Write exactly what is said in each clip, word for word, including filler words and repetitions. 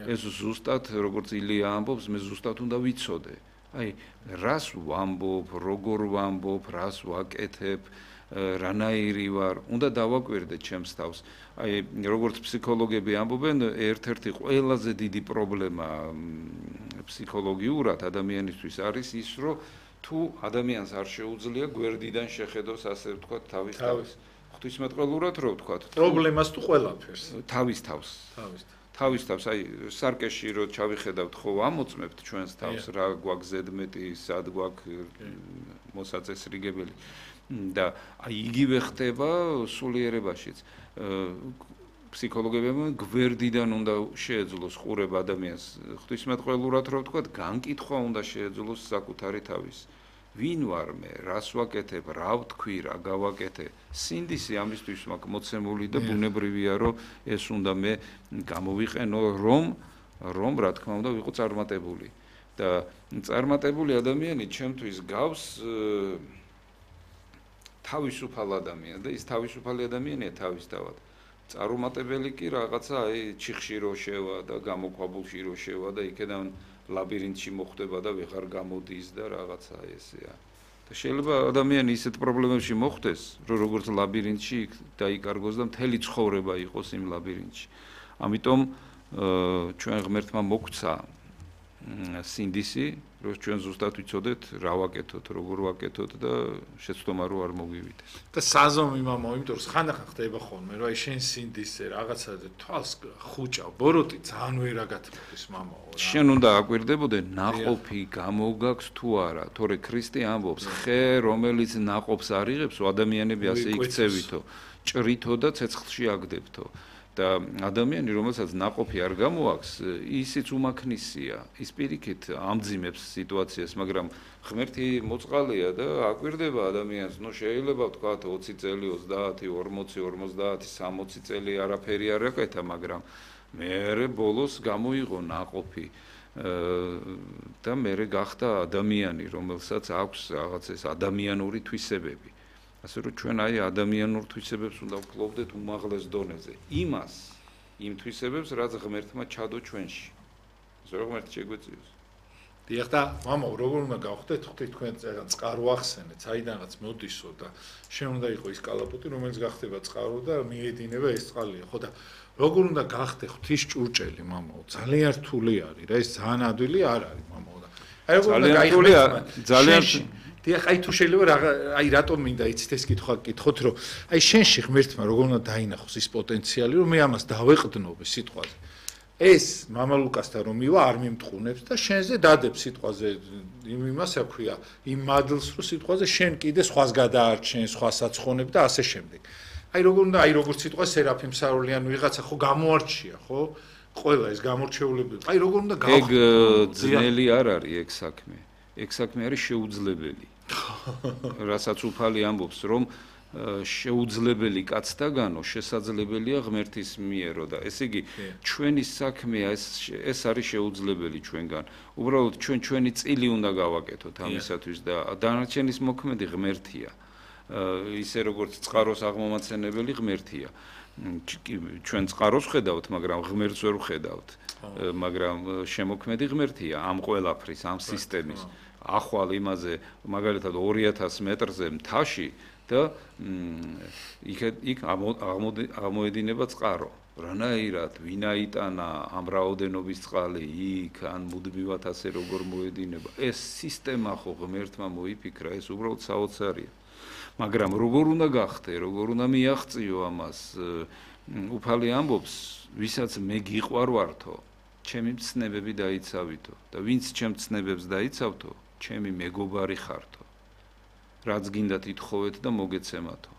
ეს ზუსტად როგორც ილია ამბობს, მე ზუსტად უნდა ვიცოდე. აი, რას ვამბობ, როგორ ვამბობ, რას ვაკეთებ, რანაირი ვარ, უნდა დავაკვირდე ჩემს თავს. აი, როგორც ფსიქოლოგები ამბობენ, ერთ-ერთი ყველაზე დიდი პრობლემა ფსიქოლოგიურად ადამიანისთვის არის ის, რომ თუ ადამიანს არ შეუძლია გვერდიდან შეხედოს, ასე ვთქვათ, თავის თავს. ღვთისმეტყველურად რო ვთქვათ, პრობლემას თუ ყველაფერს. თავის თავს. თავის თავის თავს, აი, სარკეში რო ჩავიხედავთ, ხო ამოწმებთ ჩვენს თავს, რა გვაქვს ზედმეტი, სად გვაქვს მოსაწესრიგებელი. და აი იგივე ხდება სულიერებაშიც. ფსიქოლოგები გვერდიდან უნდა შეეძლოს ყურება ადამიანს. ღვთისმეტყველურად რო ვთქვათ, განკითხვა უნდა შეეძლოს საკუთარი თავის. ვინ ვარ მე, რას ვაკეთებ, რა ვთქვი, რა გავაკეთე. სინდისი ამისთვის მაქვს მოცემული და ბუნებრივია, რომ ეს უნდა მე გამოვიყენო, რომ რომ რა თქმა უნდა ვიყო წარმატებული. და წარმატებული ადამიანი ჩემთვის გავს თავისუფალ ადამიანს და ის თავისუფალი ადამიანია თავისთავად. წარუმატებელი კი რაღაცა აი ჩიხში რო შევა და გამოქვაბულში რო შევა და იქიდან ლაბირინთში მოხვდება და ვეღარ გამოდის და რაღაცა ესეა. და შეიძლება ადამიანი ისეთ პრობლემებში მოხვდეს, რომ როგორც ლაბირინთში დაიკარგოს და მთელი ცხოვრება იყოს იმ ლაბირინთში. ამიტომ ჩვენ ღმერთმა მოგცა სინდისი, რომ ჩვენ ზუსტად ვიცოდეთ რა ვაკეთოთ, როგორ ვაკეთოთ და შეცდომა რო არ მოგივიდეს. და საზომი მამა, იმიტომ რომ ხანდახან ხდება ხოლმე, რომ აი შენ სინდისზე რაღაცა თვალს ხუჭავ, ბოროტი ძალიან ვერა გათმოდის მამაო რა. შენ უნდა აკვირდებოდე ნაყოფი გამოგაქვს თუ არა, თორე ქრისტე ამბობს, ხე რომელიც ნაყოფს არ იღებს, ადამიანები ასე იქცევითო, ჭრითო და ცეცხლში აგდებთო. და ადამიანი, რომელსაც ნაყოფი არ გამოაქვს, ისიც უმაქნისია. ის პირიქით ამძიმებს სიტუაციას, მაგრამ ღმერთი მოწყალია და აკვირდება ადამიანს. ნუ შეიძლება ვთქვათ ოცი წელი, ოცდაათი, ორმოცი, ორმოცდაათი, სამოცი წელი არაფერი არ აკეთა, მაგრამ მერე ბოლოს გამოიღო ნაყოფი და მერე გახდა ადამიანი, რომელსაც აქვს რაღაც ეს ადამიანური თვისებები. ასე რომ ჩვენ აი ადამიანურ თვისებებს უნდა ვფლობდეთ უმაღლეს დონეზე. იმას, იმ თვისებებს, რაც ღმერთმა ჩადო ჩვენში. ასე რომ ღმერთი შეგვეციოს. დიახ და მამა, როგორ უნდა გავხდეთ, ხვდით თქვენ წერან წყარო ახსენეთ, საიდანაც მოდისო და შენ უნდა იყო ის კალაპოტი, რომელიც გახდება წყარო და მიედინება ეს წყალია, ხო და როგორ უნდა გახდე ღვთის ჭურჭელი, მამაო, ძალიან რთული არის რა, ეს ძალიან ადვილი არ არის, მამაო და აი როგორ უნდა გაიხმაროთ ძალიან დიახ, აი თუ შეიძლება აი რატომ მინდა იცით ეს კითხვა გკითხოთ, რომ აი შენში ღმერთმა როგორ უნდა დაინახოს ის პოტენციალი, რომ მე ამას დავეყდნობე სიტყვაზე. ეს მამა ლუკასთან რომ მივა არ მიმტყუნებს და შენზე დადებს სიტყვაზე იმ იმას აქვია, იმ მადლს რო სიტყვაზე შენ კიდე სხვას გადაარჩენ, სხვას აცხონებ და ასე შემდეგ. აი როგორ უნდა, აი როგორც სიტყვა სერაფიმ სარულიან ვიღაცა ხო გამოარჩია, ხო? ყველა ეს გამორჩეულები. აი როგორ უნდა გავხდე? ეგ ძნელი არ არის ეგ საქმე. ეგ საქმე არის შეუძლებელი. რასაც უფალი ამბობს, რომ შეუძლებელი კაცთაგანო შესაძლებელია ღმერთის მიერო და ესე იგი ჩვენი საქმეა ეს ეს არის შეუძლებელი ჩვენგან. უბრალოდ ჩვენ ჩვენი წილი უნდა გავაკეთოთ ამისათვის და დანარჩენის მოქმედი ღმერთია. ისე როგორც წყაროს აღმომაცენებელი ღმერთია. ჩვენ წყაროს ხედავთ, მაგრამ ღმერთს ვერ ვხედავთ. მაგრამ შემოქმედი ღმერთია ამ ყველაფრის, ამ სისტემის. ახვალ იმაზე მაგალითად ორი ათასი მეტრზე მთაში და იქ იქ აღმოედინება წყარო. რანაირად, ვინ აიტანა ამ რაოდენობის წყალი იქ ან მუდმივად ასე როგორ მოედინება. ეს სისტემა ხო ღმერთმა მოიფიქრა, ეს უბრალოდ საოცარია. მაგრამ როგორ უნდა გახდე, როგორ უნდა მიაღწიო ამას? უფალი ამბობს, ვისაც მე გიყვარვართო, ჩემი მცნებები დაიცავითო და ვინც ჩემ მცნებებს დაიცავთო, ჩემი მეგობარი ხართო. რაც გინდა თითხოვეთ და მოგეცემათო.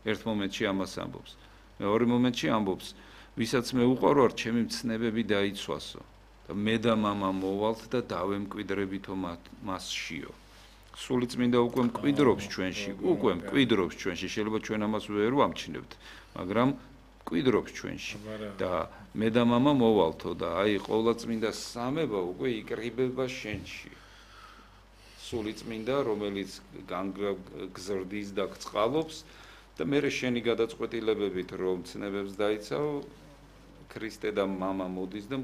ერთ მომენტში ამას ამბობს. მეორე მომენტში ამბობს, ვისაც მე უყვარვარ, ჩემი მცნებები დაიცვასო და მე და მამა მოვალთ და დავემკვიდრებითო მასშიო. სული წმინდა უკვე მკვიდრობს ჩვენში, უკვე მკვიდრობს ჩვენში, შეიძლება ჩვენ ამას ვერ ვამჩნევთ, მაგრამ მკვიდრობს ჩვენში და მე და მამა მოვალთო და აი ყოვლადწმინდა სამება უკვე იკრიბება შენში. სული წმინდა, რომელიც განგზრდის და გწყალობს და მე შენი გადაწყვეტილებებით რომ ცნებებს დაიცავ, ქრისტე და მამა მოდის და